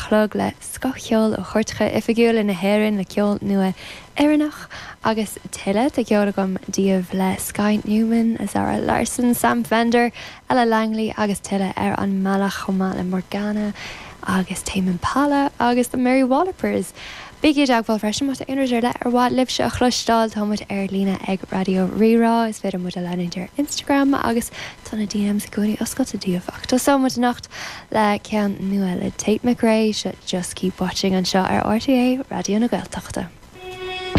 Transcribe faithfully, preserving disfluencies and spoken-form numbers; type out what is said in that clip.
chlog le scothcheol ó chairteacha oifigiúla na hÉireann le ceol nua Éireannach agus tuilleadh de cheol agam daoibh le Skye Newman, Zara Larsson, Sam Fender, Ella Langley agus tuilleadh ar an mbealach chomh maith le Morgana agus Tame Impala agus the Mary Wallopers. Bígí i dteagmháil freisin má tá aon rud ar leith ar mhaith libhse a chloisteáil táimid ar líne ag Raidió Rí-Rá is féidir muid a leanúint ar Instagram agus tá na DMs i gcónaí oscailte daoibh ach tosóimid anocht le ceann nua le Tate McRae seo Just Keep Watching anseo ar RTÉ Raidió na Gaeltachta.